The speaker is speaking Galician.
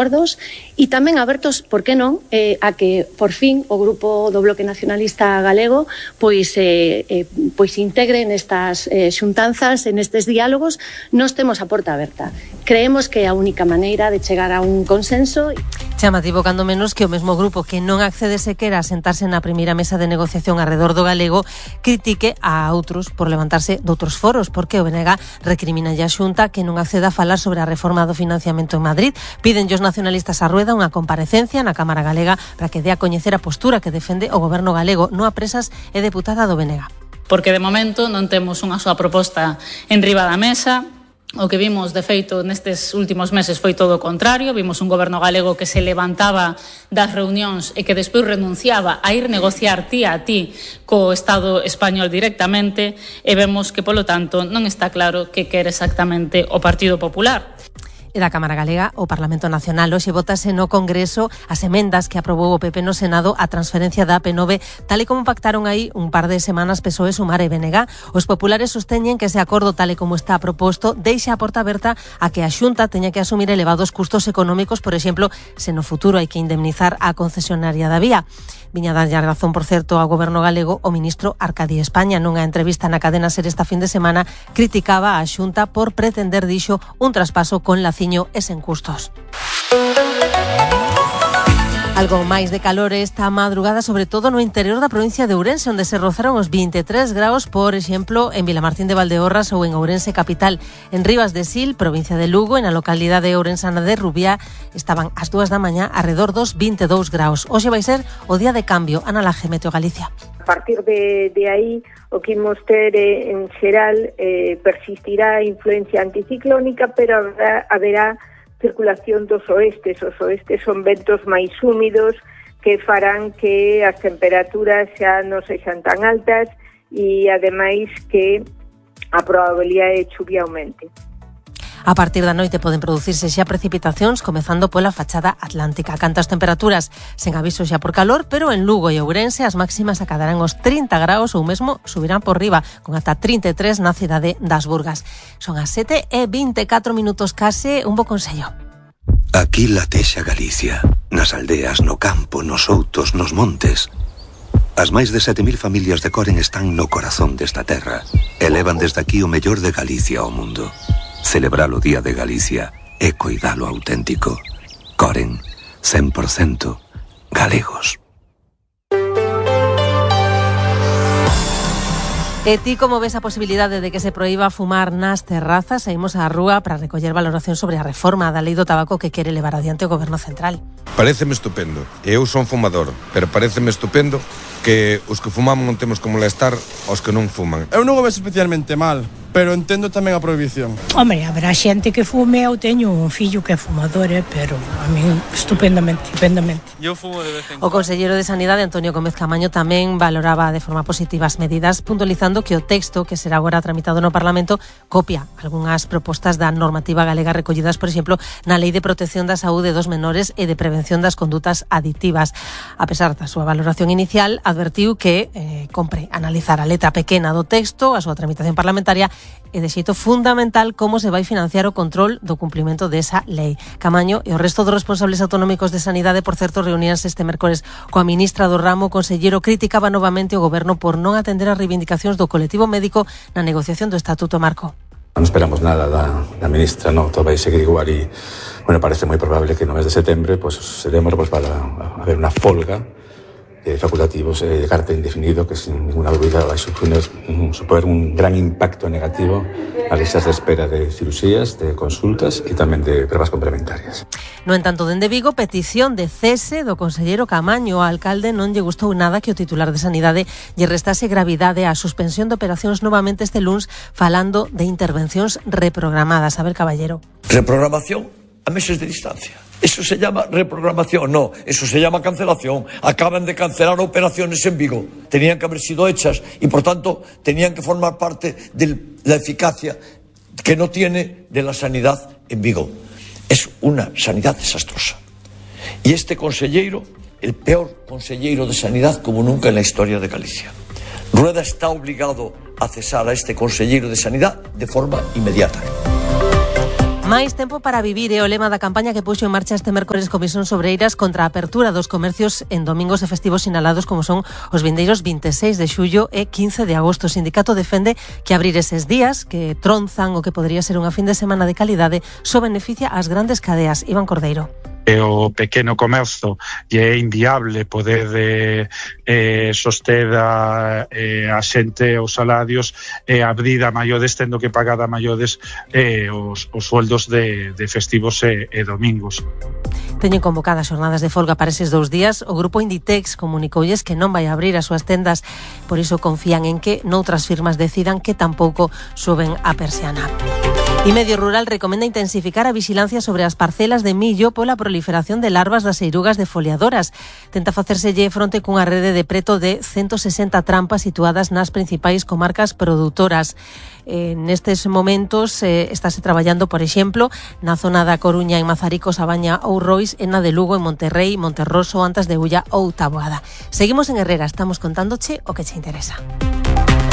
acordos e tamén abertos, por que non, a que por fin o Grupo do Bloque Nacionalista Galego pois integre nestas xuntanzas, nestes diálogos. Nós temos a porta aberta. Creemos que é a única maneira de chegar a un consenso. Chamativo cando menos que o mesmo grupo que non accede sequera a sentarse na primeira mesa de negociación arredor do galego critique a outros por levantarse doutros foros, porque o BNG recrimina a Xunta que non acceda a falar sobre a reforma do financiamento en Madrid. Piden os nacionalistas a Rueda unha comparecencia na Cámara Galega para que dé a coñecer a postura que defende o goberno galego. Noa Presas é deputada do BNG. Porque de momento non temos unha súa proposta en riba da mesa. O que vimos, de feito, nestes últimos meses foi todo o contrario. Vimos un goberno galego que se levantaba das reunións e que despois renunciaba a ir negociar ti a ti co Estado español directamente, e vemos que, polo tanto, non está claro que quere exactamente o Partido Popular. E da Cámara Galega, o Parlamento Nacional hoxe votase no Congreso as emendas que aprobou o PP no Senado a transferencia da AP9, tal e como pactaron aí un par de semanas PSOE, Sumar e BNG. Os populares sosteñen que ese acordo, tal e como está proposto, deixa a porta aberta a que a Xunta teña que asumir elevados custos económicos, por exemplo, se no futuro hai que indemnizar a concesionaria da vía. Viña darlle a razón, por certo, ao goberno galego o ministro Arcadi España. Nunha entrevista na cadena SER esta fin de semana criticaba a Xunta por pretender, dixo, un traspaso con laciño e sen custos. Algo máis de calor esta madrugada, sobre todo no interior da provincia de Ourense, onde se rozaron os 23 graus, por exemplo, en Vilamartín de Valdeorras ou en Ourense capital. En Rivas de Sil, provincia de Lugo, en a localidade ourensana de Rubiá, estaban ás 2 da mañá arredor dos 22 graus. Hoxe vai ser o día de cambio. Ana Laje, Meteo Galicia. A partir de aí, o que imos ter en xeral persistirá a influencia anticiclónica, pero haberá circulación dos oestes. Os oestes son ventos máis húmidos que farán que as temperaturas xa non sexan tan altas e, ademais, que a probabilidade de chuvia aumente. A partir da noite poden producirse xa precipitacións, comezando pola fachada atlántica. Cantas temperaturas sen aviso xa por calor, pero en Lugo e Ourense as máximas acadarán os 30 graus ou mesmo subirán por riba, con ata 33 na cidade das Burgas. Son as 7:24 case. Un bo consello. Aquí latexa Galicia, nas aldeas, no campo, nos outos, nos montes. As máis de 7.000 familias de Coren están no corazón desta terra e levan desde aquí o mellor de Galicia ao mundo. Celebrar o Día de Galicia e coidalo auténtico. Coren, 100% galegos. E ti como ves a posibilidade de que se proíba fumar nas terrazas? Saímos á rúa para recoller valoración sobre a reforma da lei do tabaco que quere levar adiante o Goberno Central. Paréceme estupendo. Eu son fumador, pero paréceme estupendo que os que fumamos non temos que molestar aos que non fuman. Eu non o vexo especialmente mal, pero entendo tamén a prohibición. Hombre, haberá xente que fume. Eu teño un fillo que é fumador, pero a mí estupendamente. Eu fumo de vez en cuando. O conselleiro de Sanidade, Antonio Gómez Camaño, tamén valoraba de forma positiva as medidas, puntualizando que o texto que será agora tramitado no Parlamento copia algunhas propostas da normativa galega recollidas, por exemplo, na Lei de Protección da Saúde dos Menores e de Prevención das Condutas Adictivas. A pesar da súa valoración inicial, advertiu que compre analizar a letra pequena do texto, a súa tramitación parlamentaria e de xeito fundamental como se vai financiar o control do cumprimento desa lei. Camaño e o resto dos responsables autonómicos de Sanidade, por certo, reuníanse este mércores coa ministra do ramo. O conselleiro criticaba novamente o goberno por non atender as reivindicacións do colectivo médico na negociación do Estatuto Marco. Non esperamos nada da ministra, todo vai seguir igual e, parece moi probable que no mes de setembro seremos para haber unha folga de facultativos de carácter indefinido que sin ninguna dúbida vai suponer un gran impacto negativo ás listas de espera de cirurxías, de consultas e tamén de pruebas complementarias. No entanto, dende Vigo, petición de cese do conselleiro Camaño. Ao alcalde non lle gustou nada que o titular de Sanidade lle restase gravidade á suspensión de operacións novamente este luns, falando de intervencións reprogramadas. A ver, caballero. Reprogramación a meses de distancia. Eso se llama reprogramación, no, eso se llama cancelación. Acaban de cancelar operaciones en Vigo. Tenían que haber sido hechas y, por tanto, tenían que formar parte de la eficacia que no tiene de la sanidad en Vigo. Es una sanidad desastrosa. Y este conselleiro, el peor conselleiro de sanidad como nunca en la historia de Galicia. Rueda está obligado a cesar a este conselleiro de sanidad de forma inmediata. Máis tempo para vivir é o lema da campaña que puxo en marcha este mércores Comisión Sobreiras contra a apertura dos comercios en domingos e festivos sinalados como son os vindeiros 26 de xullo e 15 de agosto. O sindicato defende que abrir eses días, que tronzan o que podría ser unha fin de semana de calidade, só beneficia ás grandes cadeas. Iván Cordeiro. O pequeno comercio e é inviable poder soster a xente os salarios e abrir a maiores tendo que pagar a maiores os sueldos de festivos e domingos. Teñen convocadas xornadas de folga para eses 2 días. O grupo Inditex comunicoulles que non vai abrir as súas tendas, por iso confían en que noutras firmas decidan que tampouco suben a persiana. E Medio Rural recomenda intensificar a vixilancia sobre as parcelas de millo pola proliferación de larvas das eirugas defoliadoras. Tenta facerselle fronte cunha rede de preto de 160 trampas situadas nas principais comarcas produtoras. Nestes momentos estáse traballando, por exemplo, na zona da Coruña, en Mazaricos, A Baña ou Rois, en na de Lugo, en Monterrei, Monterroso, Antas de Ulla ou Taboada. Seguimos en Herrera, estamos contándoche o que che interesa.